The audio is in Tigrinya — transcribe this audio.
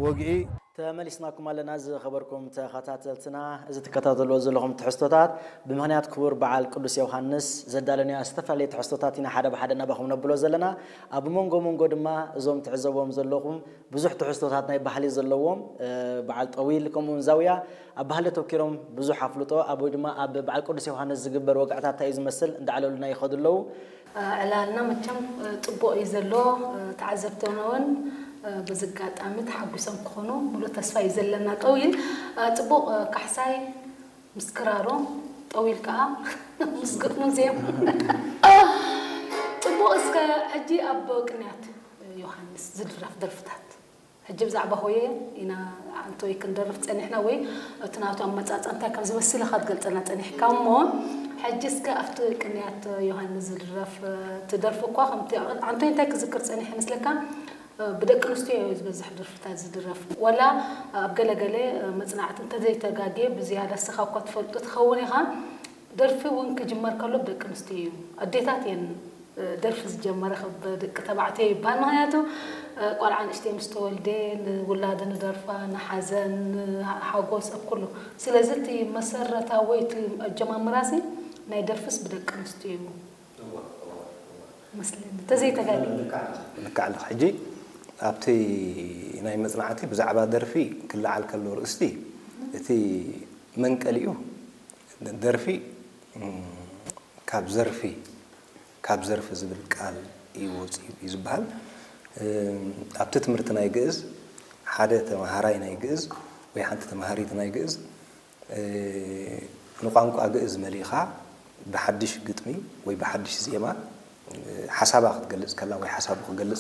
ወግዒ። ተመሊስናኩም ኣለና ዝኸበርኩም ተኸታተልትና። እዚ ትከታተልዎ ዘለኹም ትሕዝቶታት ብምኽንያት ክቡር በዓል ቅዱስ ዮሃንስ ዘዳለናዮ ዝተፈላለየ ትሕዝቶታት ኢና ሓደ ብሓደ ናባኹም ነብሎ ዘለና። ኣብ መንጎ መንጎ ድማ እዞም ትዕዘብዎም ዘለኹም ብዙሕ ትሕዝቶታት ናይ ባህሊ ዘለዎም፣ እ፣ በዓል ጠዊል ከምኡውን ዛውያ ኣብ ባህሊ ኣተኪሮም ብዙሕ ኣፍልጦ ኣብ ወይ ድማ ኣብ በዓል ቅዱስ ዮሃንስ ዝግበር ወግዕታት እንታይ እዩ ዝመስል እንዳዕለሉና ይኸዱ ኣለዉ። ዕላልና መቸም ጽቡቕ እዩ ዘሎ። ተዓዘብትና እውን በዚ ኣጋጣሚ ተሓጒሶም ክኾኑ ሙሉእ ተስፋ እዩ ዘለና። ጠዊል ጽቡቕ ካሕሳይ ምስ ክራሩ፣ ጠዊል ከዓ ምስ ግጥሙ ዜም ጽቡቕ። እስከ ሕጂ ኣብ ቅንያት ዮሃንስ ዝድረፍ ደርፍታት ሕጂ ብዛዕባ ሆየ ኢና ኣንቶይ ክንደርፍ ጸኒሕና፣ ወይ እቲ ናቱ ኣመጻጽኣ እንታይ ከም ዝመስል ኢኻ ትገልጸልና ጸኒሕካ እሞ፣ ሕጂ እስከ ኣብቲ ቅንያት ዮሃንስ ዝድረፍ፣ እ፣ ትደርፍ እኳ ከምቲ ኣንቶይ እንታይ ክዝክር ጸኒሕ ይመስለካ? እ፣ ብደቂ ኣንስትዮ እዩ ዝበዝሕ ደርፍታት ዝድረፍ። ወላ ኣብ ገለገለ፣ እ፣ መጽናዕቲ እንተዘይተጋግየ ብዝያዳ እስኻ እኳ ትፈልጦ ትኸውን ኢኻ። ደርፊ እውን ክጅመር ከሎ ብደቂ ኣንስትዮ እዩ። ኣዴታት እየን፣ እ፣ ደርፊ ዝጀመረ ካብ ደቂ ተባዕትዮ ይበሃል። ምኽንያቱ፣ እ፣ ቆልዓ ንእሽተይ ምስ ተወልደ ንውላድ ንደርፋ፣ ንሓዘን፣ ንሓጎስ፣ ኣብ ኩሉ። ስለዚ እቲ መሰረታዊ እቲ ኣጀማምራሲ ናይ ደርፍስ ብደቂ ኣንስትዮ እዩ መስለኒ። ተዘይተጋግየ። ልክዕ ኣለኻ። ሕጂ ኣብቲ ናይ መጽናዕቲ ብዛዕባ ደርፊ ክለዓል ከሎ ርእስቲ እቲ መንቀሊኡ ደርፊ፣ እም፣ ካብ ዘርፊ፣ ካብ ዘርፊ ዝብል ቃል እዩ ወፂኡ እዩ ዝበሃል። እም፣ ኣብቲ ትምህርቲ ናይ ግእዝ ሓደ ተምሃራይ ናይ ግእዝ ወይ ሓንቲ ተምሃሪት ናይ ግእዝ፣ እ፣ ንቋንቋ ግእዝ መሊኻ ብሓድሽ ግጥሚ ወይ ብሓድሽ ዜማ፣ እ፣ ሓሳባ ክትገልጽ ከላ ወይ ሓሳቡ ክገልጽ